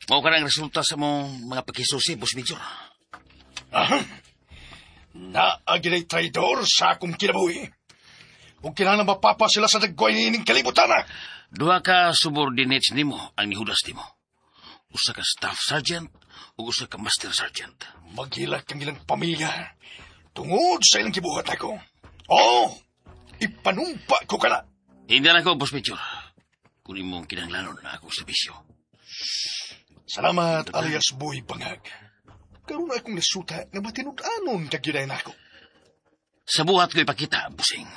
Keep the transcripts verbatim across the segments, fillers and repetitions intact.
Mao ka ang resulta sa mong mga pagkisusi, Boss Major. Aha. Naagilay traidor sa akong kinabuhi. Ug kinahanglan mapapa sila sa dagway niining kalibutan. Duha ka subordinates nimo ang nihudas nimo. Usa ka staff sergeant ug usa ka master sergeant. Maghilak ang ilang pamilya tungod sa ilang gibuhat ako. Oh, ipanumpa ko kana. Hindi na ko, Boss Major. Kung imong kinahanglanon na akong serbisyo. Salamat, alias Boy Bangag. Karon akong nasuta nga matinud-anon ka gyud nako. Sa buhat ko ipakita, busing.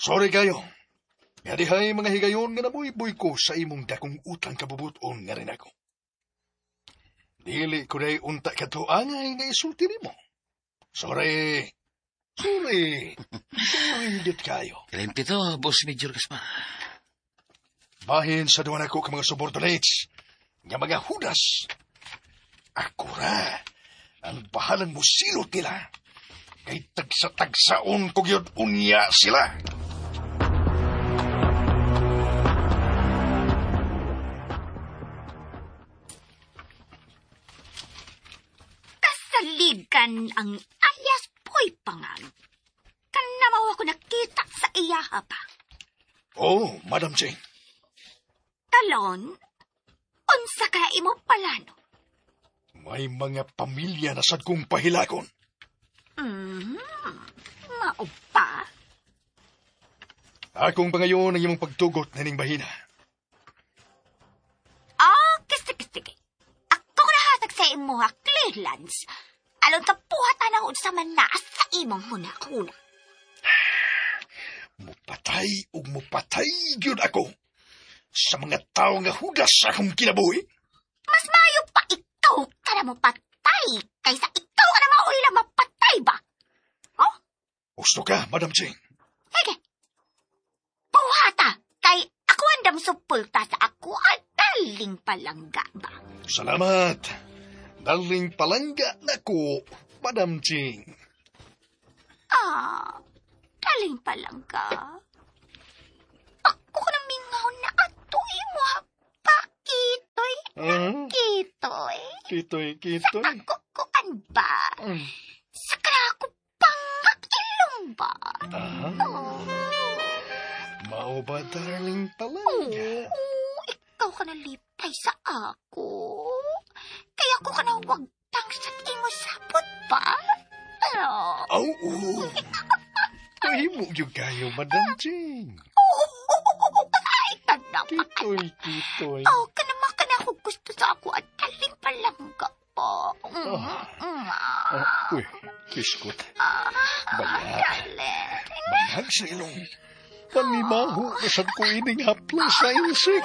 Sorry kayo. Nga dihay mga higayon nga nabuy-buy ko sa imong dakong utang kabubuton nga rin ako. Dili ko day unta kadto angay nga isulti nimo. Sorry. Sorry. Sorry gid kayo. Kalimti to, Boss Major Gaspar. Bahin sa duwa nako ka mga subordinates, nga mga hudas. Ako ra ang bahalang musilot nila. Kay tagsa-tagsaon ko gyud unya sila. Kasaligan ang alias Boy Pangag. Kanamaw ako nakita sa iyaha pa. Oh, Madam Jane. Talon, unsa ka imo palano? May mga pamilya na sad kong pahilakon. Mm, mao pa? Akong pangayon ang imong pagtugot na ning bahina. Okay, sige, sige. Ako nahatag sa imo ha, clearance. Alon ka buhatan na unsa man naa sa imong huna-huna. Mupatay ug mupatay gyud ako sa mga tao nga hudas sa akong kinabuhi. Mas maayo pa ikaw ka na mapatay kaysa ikaw ka na mauwi na mapatay ba? Oh? Gusto ka, Madam Jane? Sige. Buhata, kay ako andam supulta sa ako at daling palangga ba? Salamat. Daling palangga na ko, Madam Jane. Ah, daling palangga. Ako na mingaw na ato imo pa, kitoy. Uh-huh. Kitoy. Kitoy, kitoy. Sa ako kuan ba? Mm. Sa ako pangakilong ba? Ah. Oh. Mao ba, darling palangga? Oo, ikaw ka nalipay sa ako. Kaya ako ka na wagtang sa imo sapot ba? Oh. Oo. Kahimo yung kayo, Madam Jane. Ay, tanda pa. Kitoy, kitoy. Oh, kanama ka na ako gusto sa ako at daling palangga po. Mm, Oh. mm, Ah, uy, kiskot. ah, Baya. darling. Banhag sa ilong. Panimaho na sad ko ining haplas sa insik.